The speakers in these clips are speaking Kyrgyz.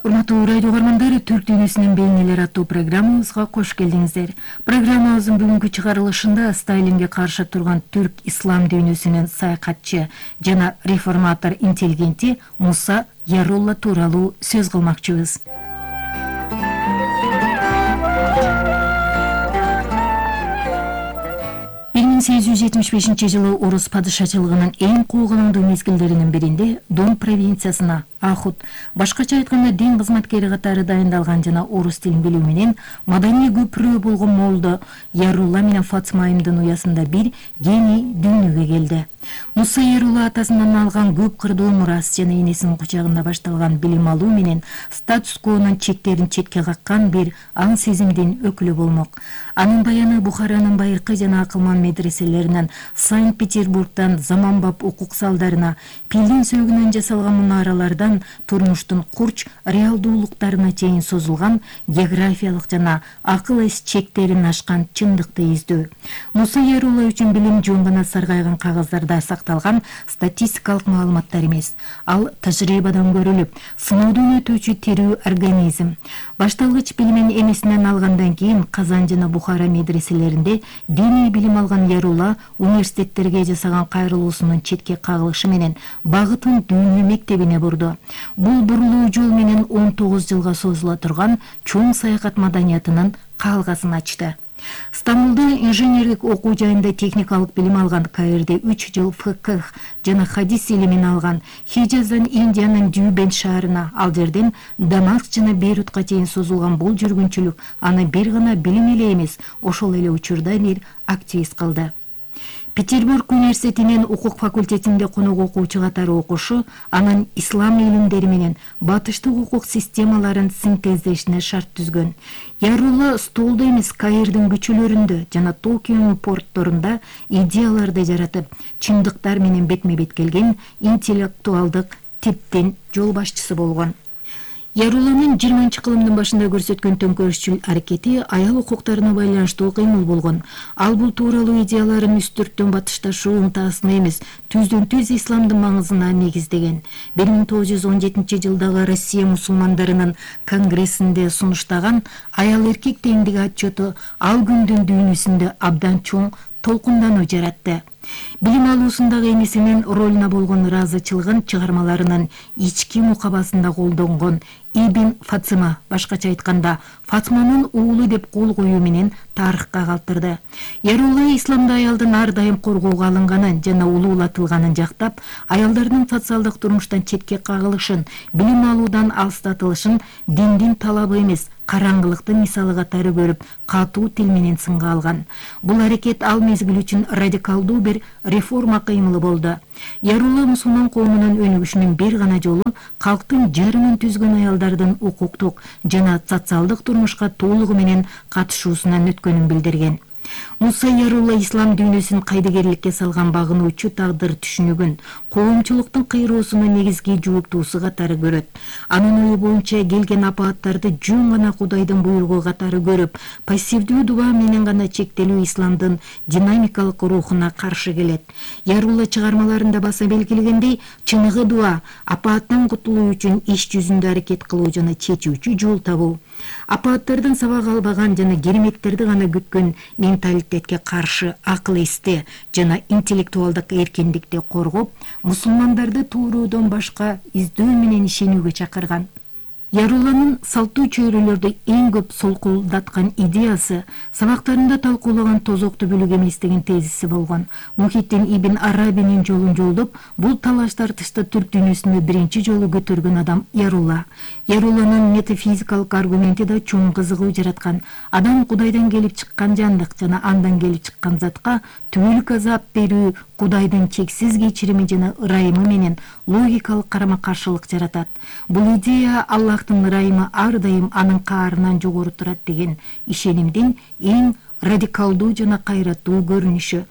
Урматтуу радио угармандар, Түрк дүйнөсүнүн бейнелери аттуу программабызга кош келдиңиздер. Программабыздын бүгүнкү чыгарылышында Сталинге каршы турган түрк ислам дүйнөсүнүн саякатчы жана реформатор интеллигенти Муса Ярулла тууралуу сөз кылмакчыбыз. 1875 жылы орус падышачылыгынын эң куугалаңдуу мезгилдеринин биринде Дон провинциясына Ахут, башкача айтканда дин кызматкери катары дайындалган жана орус тилин билүү менен маданий көпүрө болгон молдо Ярулла менен Фатыма айымдын уясында бир гений дүйнөгө келди. Муса Ярулла атасынан алган көп кырдуу мурас жана энесинин кучагында башталган билим алуу менен статус-квонун чектерин четке каккан бир аң сезимдин өкүлү болмок. Анын баяны Бухаранын байыркы жана акылман медреселеринен Санкт-Петербургдан заманбап укук залдарына, пилдин сөөгүнөн жасалган мунаралардан турмуштун курч реалдуулуктарына чейин созулган географиялык жана акыл эс чектерин ашкан чындыкты издөө. Муса Ярулла үчүн билим жөн гана саргайган кагаздарда сакталган статистикалык маалыматтар эмес. Ал тажрыйбадан көрүлүп, сыноодон өтүүчү тирүү организм. Башталгыч билимин энесинен алгандан кийин Казан жана Бухара медреселеринде диний билим алган Ярулла университеттерге жасаган кайрылуусунун четке кагылышы менен багытын дүйнө мектебине бурду. Бул бурулуу жол менен 19 жылга созула турган чоң саякат маданиятынын калгасын ачты. Стамбулда инженерлик окуу жайында техникалык билим алган, Каирде 3 жыл фикх жана хадис илимин алган, Хижаздан Индиянын Дюбен шаарына, ал жерден Дамаск жана Бейрутка чейин созулган бул жүргүнчүлүк аны бир гана билим эле эмес, ошол эле учурда бир активист кылды. Петербург университетинин укук факультетинде конок окуучу катары окушу анын ислам илимдери менен батыштык укук системаларын синтездешине шарт түзгөн. Ярулла столдо эмес, Каирдин көчөлөрүндө жана Токионун портторунда идеяларды жаратып, чындыктар менен бетме-бет келген интеллектуалдык типтин жол башчысы болгон. Ярулланын 20-кылымдын башында көрсөткөн төңкөрүшчүл аракети аял укуктарына байланыштуу кыймыл болгон. Ал бул тууралуу идеяларын үстүрттөн батышташуу ынтасына эмес, түздөн-түз исламдын маңызына негиздеген. 1917 жылдагы Россия мусулмандарынын конгрессинде сунуштаган аял эркек теңдиги отчету ал күндүн дүйнөсүндө абдан чоң толкундануу жаратты. Билим алуусундагы энесинин ролуна болгон ыраазычылыгын чыгармаларынын ички мукабасында колдонгон Ибн Фатыма, башкача айтканда Фатыманын уулу деп кол коюу менен тарыхка калтырды. Ярулла исламда аялдын ар дайым коргоого алынганын жана улуулатылганын жактап, аялдардын социалдык турмуштан четке кагылышын, билим алуудан алыстатылышын диндин талабы эмес, караңгылыктын мисалы катары көрүп, катуу тил менен сынга алган. Бул аракет ал мезгил үчүн радикалдуу бир реформа кыймылы болду. Ярулла мусулман коомунун өнүгүшүнүн бир гана жолу калктын жарымын түзгөн аялдардын укуктук жана социалдык турмушка толугу менен катышуусунан өткөнүн билдирген. Муса Ярулла ислам дүйнөсүн кайдыгерликке салган багынуучу тагдыр түшүнүгүн коомчулуктун кыйроосунун негизги жооптуусу катары көрөт. Анын ою боюнча келген апааттарды жөн гана Кудайдын буйругу катары көрүп, пассивдүү дуба менен гана чектелүү исламдын динамикалык рухуна каршы келет. Ярулла чыгармаларында баса белгилегендей, чыныгы дуа апааттан кутулуу үчүн иш жүзүндө аракет кылуу жана чечүүчү жол табуу. Апааттардан сабак албаган жана кереметтерди гана күткөн менталитетке каршы акыл эсти жана интеллектуалдык эркиндикти коргоп, мусулмандарды тууруудон башка издөө менен ишенүүгө чакырган. Ярулланын салттуу чөйрөлөрдү эң көп солкулдаткан идеясы сабактарында талкуулаган тозокту бүлүк эмес деген тезиси болгон. Мухиддин Ибн Арабинин жолун жолдоп, бул талаш тартышта түрк дүйнөсүндө биринчи жолу көтөргөн адам Ярулла. Ярулланын метафизикалык аргументи да чоң кызыгуу жараткан. Адам Кудайдан келип чыккан жандык жана андан келип чыккан затка түбөлүк азап берүү Кудайдын чексиз кечирими жана ырайымы менен логикалык карама-каршылык жаратат. Бул идея Аллахтын ырайымы ар дайым анын каарынан жогору турат деген ишенимдин эң радикалдуу жана кайраттуу көрүнүшү.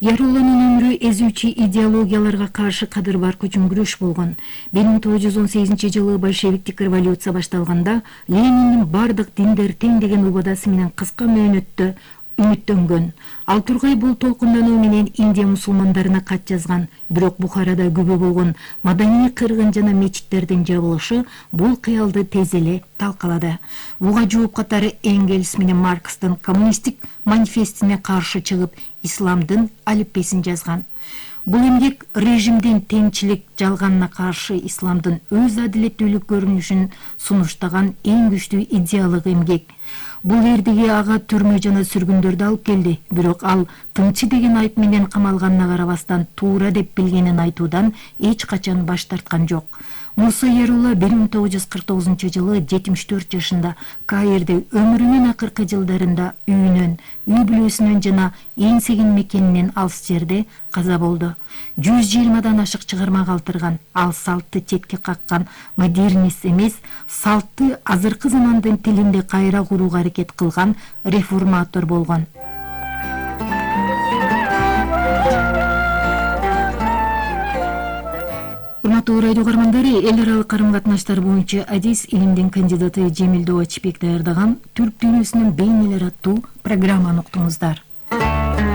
Ярулланын өмүрү эзүүчү идеологияларга каршы кадыр барк үчүн күрөш болгон. 1918 большевиктик революция башталганда Лениндин бардык диндер тең деген убадасы менен кыска мөөнөттө үмүттөнгөн. Ал тургай бул толкундануу менен Индия мусулмандарына кат жазган. Бирок Бухарада күбө болгон маданий кыргын жана мечиттердин жабылышы бул кыялды тез эле талкалады. Буга жооп катары Энгельс менен Маркстын коммунисттик манифестине каршы чыгып, исламдын алипбесин жазган. Бул эмгек режимдин теңчилик жалганына каршы исламдын өз адилеттүүлүк көрүнүшүн сунуштаган эң күчтүү идеялык эмгек. Бул эрдиги ага түрмө жана сүргүндөрдү алып келди. Бирок ал тынчы деген айып менен камалганына карабастан туура деп билгенин айтуудан эч качан баш тарткан жок. Муса Ярулла 1949-жылы 74 жашында Каирде өмүрүнүн акыркы жылдарында үйүнөн, үй бүлөсүнөн жана эңсеген мекенинен алыс жерде каза болду. 120дан ашык чыгарма калтырган. Ал салтты четке каккан модернист эмес, салтты азыркы замандын тилинде кайра курууга аракет кылган реформатор болгон. Урматтуу радио угармандары, эл аралык карым-катнаштар боюнча адис илимдин кандидаты Жемил Добачбек даярдаган Түрк дүйнөсүнүн бейнелери аттуу программаны уктуңуздар.